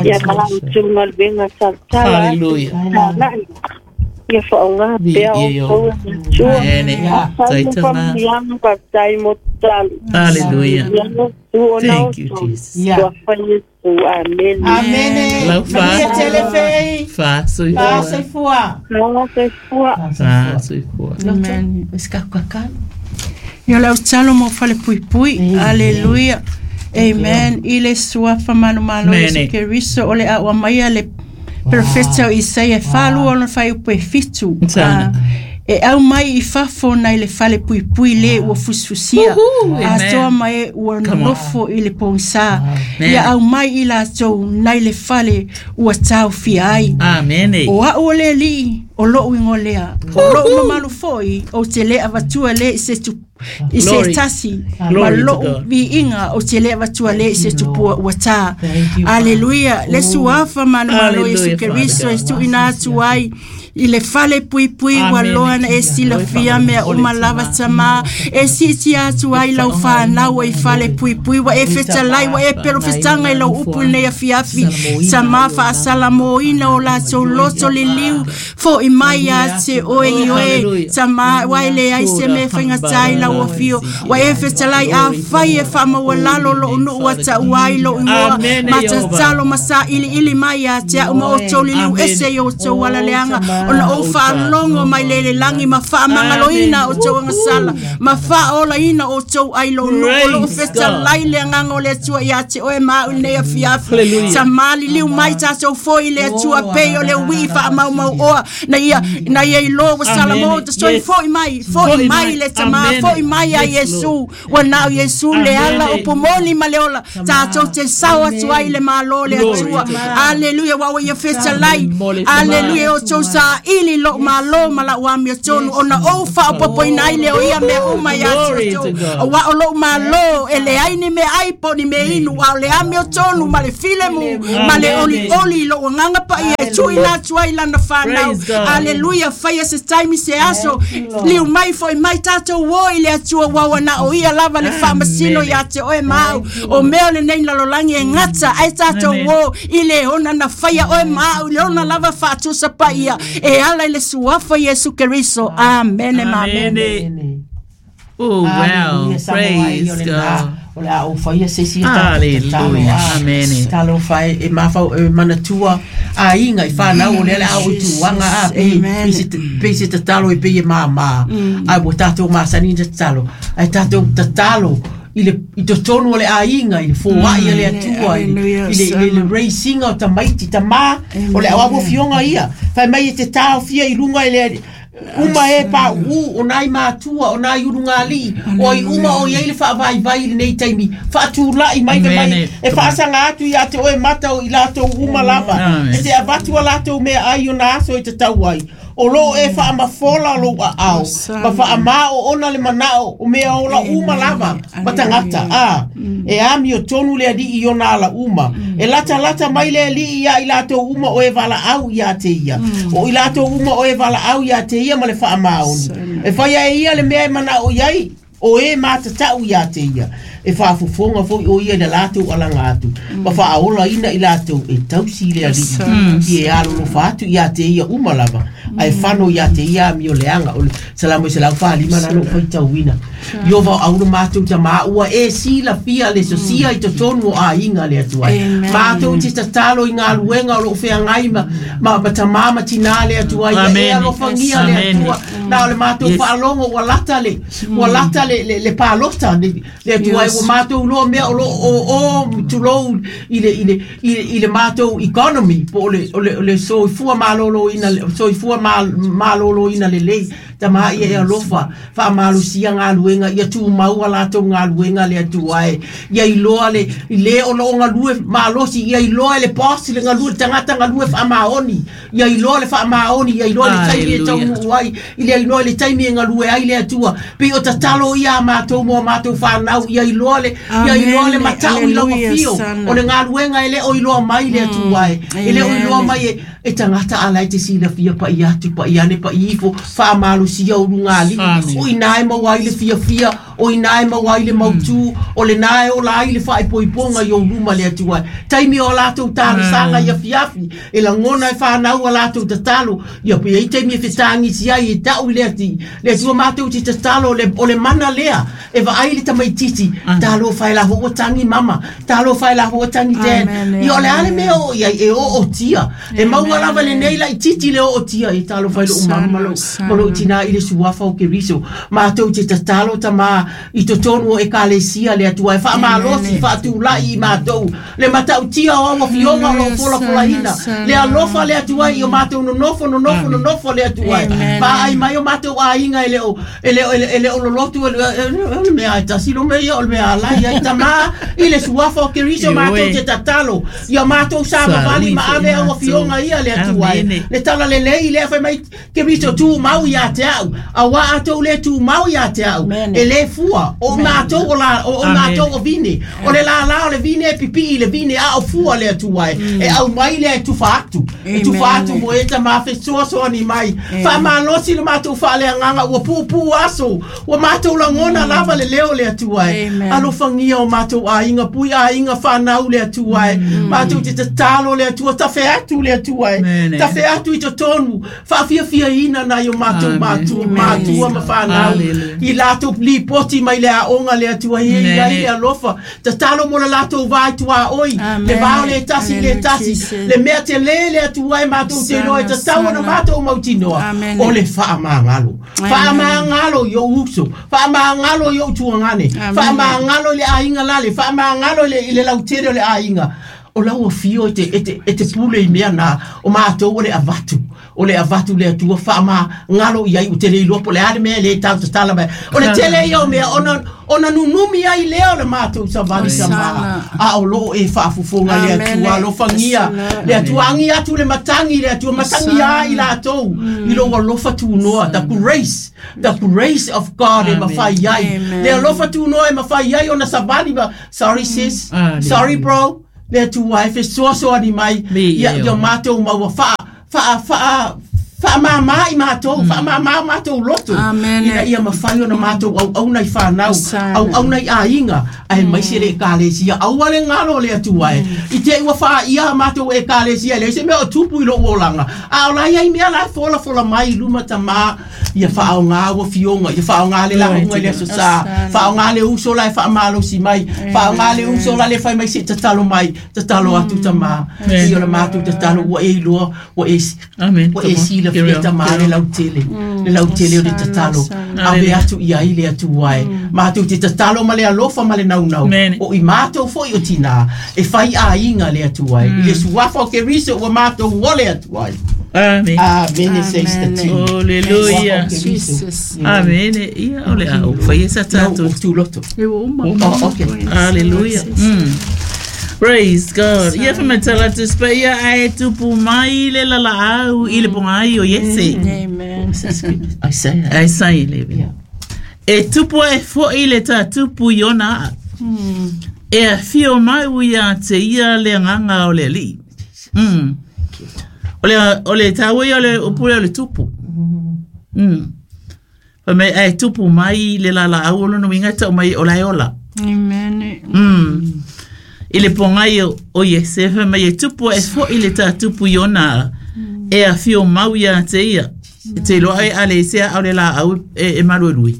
ia malau tunga venga saltala. Hallelujah. Ia whaonga pea o tau tua. Hallelujah. Thank you, Jesus. Yeah. Amen. Amen. Lau fa. Fa soi fua. Fa fua. Fa soi fua. Amen. Ia lau talo mo fale pui pui. Hallelujah. Amen. Ile suafa manu malo Yesu Keriso ole a ua maia le perfecto Isaia falu ona fai upe fitu. E au mai i fafo nei le fale pui pui le ua fusfusia. A toa mai ua nofo i le pongsa. Ia au mai i la tou nei le fale ua tau fia ai. Amen. O a o le li o lou ingolea. O lou mamalu foi o te le avatua le se tu i se tasi. Ma lou viinga o te le avatua le se tupua ua tā. Aleluia. Le suafa manu malo Yesu Keriso e tuina atu ai. I le fale pui pui ua loa na e sila fia mea uma lava tama e siti atu ai lau whanau i fale pui pui wa e fetalai wa e pero fetanga i lau upu nei a fiafi tama whaasala moina o latou loto liliu fo i mai a te oe i oe tama wa e le ai se me whaingatai lau afio wa e fetalai a whai e whaamawalalo lo unu ua ta uai lo ingoa matatalo masa ili ili mai a te au ma o tau liliu ese i o tau alaleanga Ona ou faalogo mai le le lagi ma faamagaloina outou agasala ma faaolaina outou ai lou nuu o loo fetalai le agaga o le Atua ia te oe ma au i lenei afiafi. Sa maliliu mai tatou foi i le Atua pei o le uii faamaumau oa na ia na ia iloa ua salamo ta soifua foi mai foi mai le tamā foi mai a Iesu ua na o Iesu le ala upu moni ma le ola tatou te sao atu ai i le Malo o le Atua. Aleluia ua ua ia fetalai. Aleluia o outou saili i lou malo ma lau amiotonu ona ou faaopoopoina ai lea o ia mea uma ia te outou. Aua o lou malo e leai ni meaai po o ni mea inu, a o le amiotonu ma le filemu ma le olioli i lou agaga paia e tuuina atu ai i lana fanau. Aleluia faia se taimi se aso liu mai foi mai tatou o i le Atua ua ua na o ia lava le faamasino ia te oe ma au. O mea o lenei lalolagi e gata ai tatou o i le ona na faia oe ma au i le ona lava faatusa paia e ala i le suafa Iesu Keriso. Amene ma amene. Oh, wow. Praise God. O le a ou faia se isi a tatou tatalo. Hallelujah. Amene. Talofa e, e mafau e manatua aiga i whanau o lea le a o i tūanga a pei, pei se, pei se tatalo e pei e māmā. Ai ua tātou masani i tatalo. Ai tātou tatalo i le i totonu o le aiga i le foai a le Atua i le, i le, i le, le raisinga o tamaiti tamā o le au afioga ia. Fai mai e te taofia i lunga i le uma e pauu o nai matua o nai ulugalii o ai uma o i ai le faavaivai i lenei taimi faatulai mai fai mai e faasaga atu ia te oe mata o i latou uma lava e te avatu a latou meaai ona aso e tatau ai o loo e faamafola lou aao ma faamāoona le manao o mea ola uma lava ma tagata a e amiotonu le alii i ona ala uma e latalata mai le alii iā i latou uma o e valaau iā te ia o i latou uma o e valaau iā te ia ma le faamaoni e faia e ia le mea e manao i ai o e matatau iā te ia e faafofoga foi o ia i le latou alaga atu ma faaolaina i latou e tausi i le alii i e alolofa atu iā te ia uma lava ae fano iā te ia amioleaga o le Salamo e 145 lalo o faitauina. Iova o auro mātou tamā ua e silafia le sosia i totonu o aiga le Atua ai. Mātou te tatalo i ngā luenga o loo feagai ma, ma, ma tamā ma tinā le Atua ai. Ia e alofagia le Atua. Na o le mātou faalogo ua lata le, ua lata le, le, le palota le, le Atua ai. Ua mātou loa mea o loo o, o tulou i le, i le, i, i le mātou economy po o le, o le, o le soifua maloloina, soifua maloloina lelei. Tamā ia e alofa, faamalosia galuega, ia tumau a latou galuega le Atua e. Ia iloa le, i le o loo galue malosi, ia iloa e le boss le galue, le tagata galue faamaoni. Ia iloa le faamaoni, ia iloa le taimi e taunuu ai, ia iloa le taimi e galue ai le Atua. Pei o tatalo ia a matou mo a matou whanau, ia iloa le, ia iloa le matau i lau afio, o le galuega e le o iloa mai le Atua e. E le o iloa mai e, e tagata ala e te silafia pa'i atu, pa'i ane, pa'i ifo, faamalosia ulugalii. O ina e maua ai le fiafia, o ina e maua ai le mautū, o lenā e ola ai le faaipoipoga i ou luma le Atua e. Taimi o a latou talosaga i afiafi, e lagona e whanau a latou tatalo, ia pe ai taimi e fetagisi ai e ta'u i le ati, le Atua matou te tatalo le, o le mana lea, e vaai le tamaitiiti, talofa e la ua tagi mama, talofa e la ua tagi dad. Ia o le a le mea o i ai e ootia. E maua lava lenei laitiiti le ootia e talofa i lou mama ma lou, ma lou tinā i le suafa o Keriso. Matou te tatalo tamā i totonu o ekalesia le Atua e faamalosi faatulai i matou le matautia o au afioga o loo folafolaina le alofa le Atua i o matou nonofo nonofo nonofo le Atua e vaai mai o matou aiga e le o e le o e le o lolotu e o le mea e tasi lo mea ia o le mea ala ia i tamā i le suafa o Keriso matou te tatalo ia matou savavali ma ave au afioga ia le Atua e le talalelei lea fai mai Keriso tumau ia te au auā outou le tumau ia te au e lē fua o matou o la o matou o vine o le lālā o le vine e pipii i le vine a o fua le Atua e e aumai lea e tufa atu e tufa atu mo e tamā fesoasoani mai faamalosi le matou faaleagaga ua puupuu aso ua matou lagona lava le leo o le Atua e alofagia o matou aiga pui aiga whanau le Atua e matou te tatalo le Atua tafe atu le Atua e tafe atu i totonu faafiafiaina nai o matou matua matua ma whanau i latou lipoti oti mai le aoga le Atua ia i ai le alofa. Tatalo mo le latou va i tuaoi, le va o le tasi i le tasi, le mea telē le Atua e matou te iloa e tatau ona matou mautinoa, o le faamagalo. Faamagalo i ou uso, faamagalo i ou tuagane, faamagalo i le aiga lale, faamagalo i le lautele o le aiga. O lau afio e te pule i mea na, o matou o le avatu. O le avatu le Atua faamagalo i ai o te le iloa po o le a le mea e le tau tatala mai. O le tele ia o mea ona nunumi ai lea o le matou savali tama. A o loo e faafofoga le Atua alofagia. Le Atua agi atu le matagi le Atua matagi a i latou i lou alofa tunoa. The grace of God e mafai ai. Le alofa tunoa e mafai ai ona savali. Sorry sis, sorry bro. Le Atua e fesoasoani mai ia matou maua faamama i matou, faamama matou loto. Ina ia mafai ona matou auauna i fanau, auauna i aiga, ae maise le ekalesia, aua le galo le Atua e. I te ua faaia matou ekalesia, e leai se mea o tupu i lou olaga. A o la ia i mea la e folafola mai i luma tama, ia faaoga ua fioga, ia faaoga le lauga i le aso sa, faaoga le uso la e faamalosi mai, faaoga le uso la le fai mai se tatalo mai, tatalo atu tama. Ia o le matou tatalo ua e iloa, ua e ua e sila fia tama le lautele, le lautele o le tatalo, ave atu i ai le Atua e. Matou te tatalo ma le alofa ma le naunau, o i matou foi o tina, e fai aiga le Atua e. I le suafa o Keriso ua matou o le Atua e. Amen. Amen. Says the team. Hallelujah. Jesus. Amen. Ia o le au fai e sa tatou tuloto. Oh, okay. Hallelujah. Praise God. Ia whamatala tu spa ia ae tupu mai le lalaau i le pongai o Iese. Amen. Isaiah. Isaiah 11. E tupu e fo i le tā tupu i ona aa. E a whio mai ui a te ia le nganga o le li. O le tāua ia o le upule o le tupu. Pa me e tupu mai le lalaau o lono winga tau mai o lai ola. Amen. I le pongai o Iese mai e tupu e fo i le tā tupu i ona e a whio mau ia te ia. E te loa e ale sea au le la au e maruerui.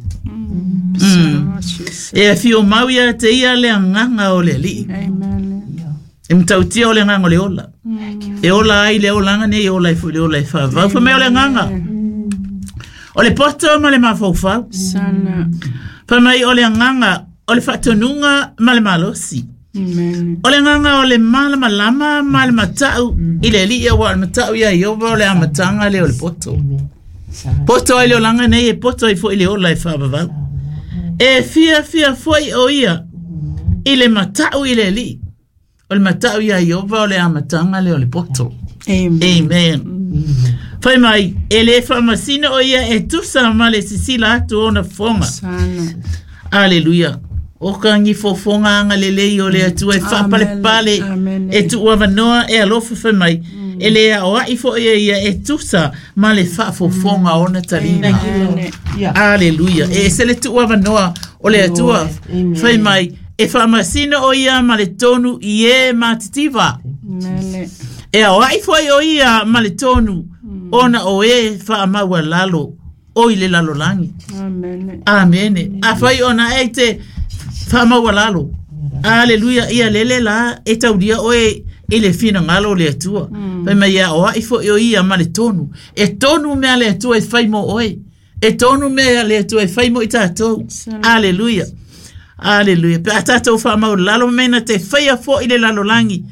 E a whio mau ia te ia le anganga o le li. Amen. E mtautia o le nganga o le ola. E ola ai le olanga nei e ola e fo le ola e whavau. Fa mai o le nganga. O le poto ma le mafaufau. Sana. Fa mai o le nganga o le whatonunga ma le malosi. Amen. O le nganga o le malama lama ma le matau i le lia wa le matau ia iova o le amatanga le o le poto. Poto ai le olanga nei e poto ai fo i le ola e whavavau. E fia fia foi o ia i le matau i le li. O le matau ia iova o le amatanga le o le poto. Amen. Amen. Fai mai, e le whamasina o ia e tusa ma le sisila atu ona fonga. Sana. Hallelujah. O ka ngi fofonga anga le lei o le atua e whapale pale e tuua vanoa e alofa fai mai. E le ao ai fo ia ia e tusa ma le whaafofonga ona talina. Hallelujah. E se le tuua vanoa o le atua fai mai e whamasina o ia ma le tonu i e mātitiva. E ao ai fo o ia ma le tonu ona o e whaamaua lalo o i le lalo langi. Amen. Amen. A whai ona e te whaamaua lalo. Hallelujah. Ia lele la e tauria oe i le whina ngalo le atua. Whai mai ia oa i fo i ia ma le tonu. E tonu mea le atua e whai mo oe. E tonu mea le atua e whai mo i tātou. Hallelujah. Hallelujah. Pe a tātou whaamaua lalo mena te whaia fo i le lalo langi.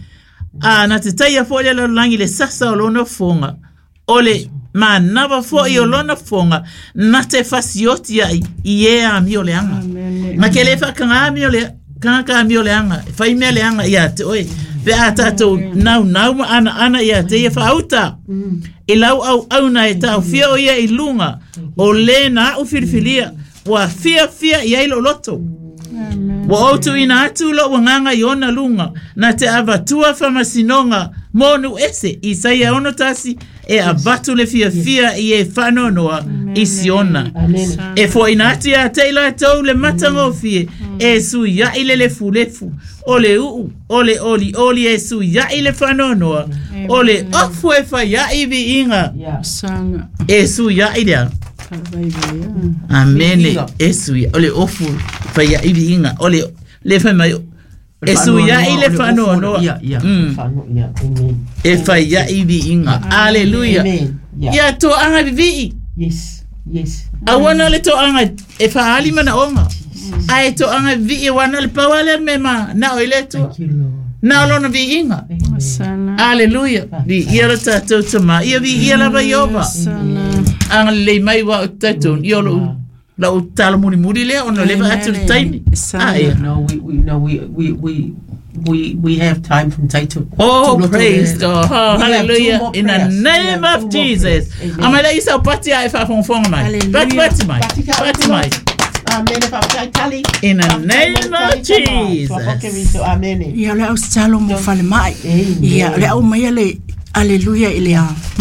A na te taia fo i le lalo langi le sasa o lona fonga. O le manawa fo i o lona fonga na te fasioti ai i e a mi o le anga. Ma ke le whakanga mi o le kanga mi o le anga. Whai mea le anga ia te oe. Pe a tātou nau nau ma ana ana ia te ia whauta. I lau au au na e tau fia o ia i lunga. O le na au whiriwhiria. Wa fia fia i ai lo loto. Wa outu ina atu lo wanganga i ona lunga. Na te avatua whamasinonga monu ese. Isaia ono tasi e avatu le fia fia i e whanonoa i siona. E fo ina atu ia te ila tau le matangofie. E su ia i le lefu lefu. O le uu, o le oli oli e su ia i le whanonoa. O le ofu e whai ia i vi inga. E su ia i lea. Amene e sui o le ofu faiaʻi viiga o le le fai mai e suiaʻi le faanoanoa. Ia, ia. Ia. Amen. E faiaʻi viiga. Aleluia. Amen. Ia. Ia toaga vivii. Yes. Yes. Auana le toaga e faaali manaoga. Ae toaga vivii wana le pau ale me ma na o ile atua. Thank you, Lord. Na o lona viiga. Sana. Aleluia. Viia lo tatou tamā. Ia viia lava Ieova. Sana. Agalelei mai ua o tatou. Ia o lou lau talo mulimuli lea ona o le vaatu le taimi. Sana. Ah, ia. No, we no, we have time from Taito. Oh, to praise God. Oh, We have two hallelujah. more In the prayers. We name have of two more Jesus. prayers. Amen. Amai la isa o pati ai whaafonfonga mai. Hallelujah. Pati pati mai. Pati ka- Pati mai. Amen. Faafetai. In the Faafetai name mo of le tali tama. Jesus. Amen. Ia o le au tatalo mo falemai. Amen. Ia o le au mai le aleluia i le a.